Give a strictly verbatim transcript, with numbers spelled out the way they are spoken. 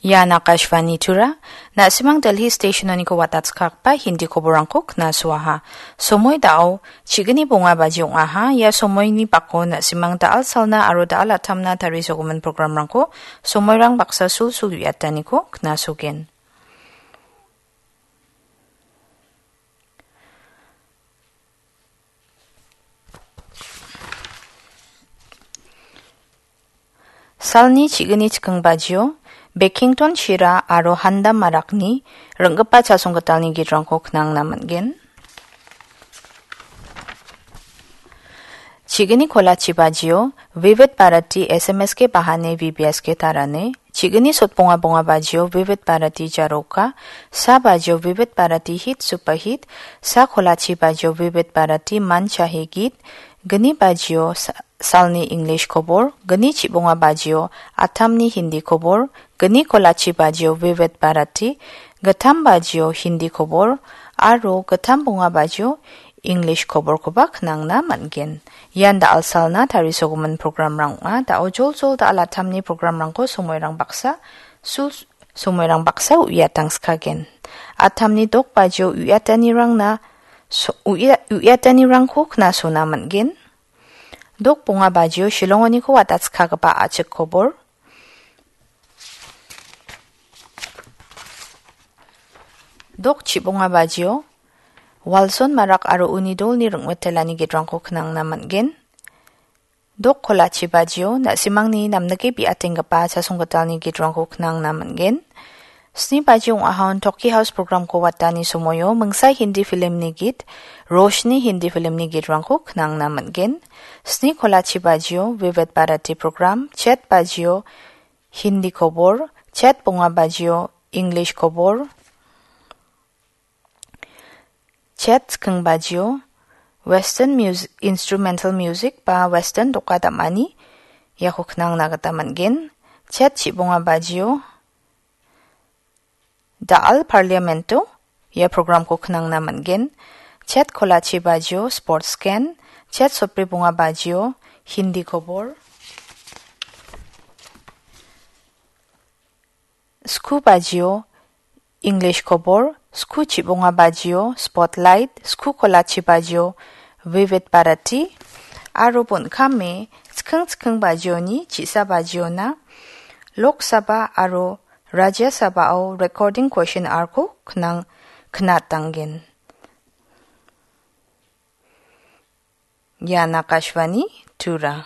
Ian Akashvani Tura, na·simang Delhi station-oniko watatskakba Hindi koborangko knasoaha. Somoi dao, chigini bonga baji ong·aha, ia somoini bako na·simang da·al salna aro da·al atamna tarisogimin programrangko somoirang baksa sulsul uiataniko knasogen. Salni chigini chiking bajio, Bekington Shira aro Handam Marakni ringgipa chasonggitalni gitrangko knangna man·gen. Chigini kolachi bajio, Vivid Bharati S M S ke bahane V B S ke tarane, chigini sotbonga bonga bajio, Vivid Bharati Jaroka, sa bajio, Vivid Bharati Hit Super Hit, sa kolachi bajio, Vivid Bharati Man Chahe Git, gni bajio, sa-, salni English kobor, gni chibonga bajio, atamni Hindi kobor, gni kolachi bajio, Vivid Bharati, gittam bajio, Hindi kobor, aro gittam bonga bajio, English koborkoba knangna man·gen. Ian da·al salna tarisogimin programrang ong·a. Da·o joljol da·al atamni programrangko somoirang baksa, sul-, somoirang baksa uiatangskagen. Atamni dok bajio uiatanirangna so-, uia-, uiatanirangko knasona man·gen. Dok bonga bajio Shillongoniko watatskagipa a·chik kobor. Dok chibonga bajio, Walson Marak aro uni dolni ring·mitelani gitrangko knangna man·gen. Dok kolachi bajio, na·simangni namnike bi·atenggipa chasonggitalni gitrangko knangna man·gen. Sni baji ong·ahon Toki House programko watani somoio mingsa Hindi filmni git, Roshni Hindi filmni gitrangko knangna man·gen. Sni kolachi bajio, Vivid Bharati program, chet bajio, Hindi kobor, chet bonga bajio, English kobor, chet chiking bajio, Western mus-, instrumental music ba Western doka dam·ani iako knangna gita man·gen. Chet chibonga bajio, da·al Parliamento ia programko knangna man·gen. Chet kolachi bajio, Sports Scan, chet sotbri bonga bajio, Hindi kobor, sku bajio, English kobor, sku chibonga bajio, Spotlight, sku kolachi bajio, Vivid Bharati, aro bon·kame chiking chiking bajioni chi·sa bajiona Lok Sabha aro Rajya Sabha-o recording question hour-ko knang-, knatanggen. Ian Akashvani Tura.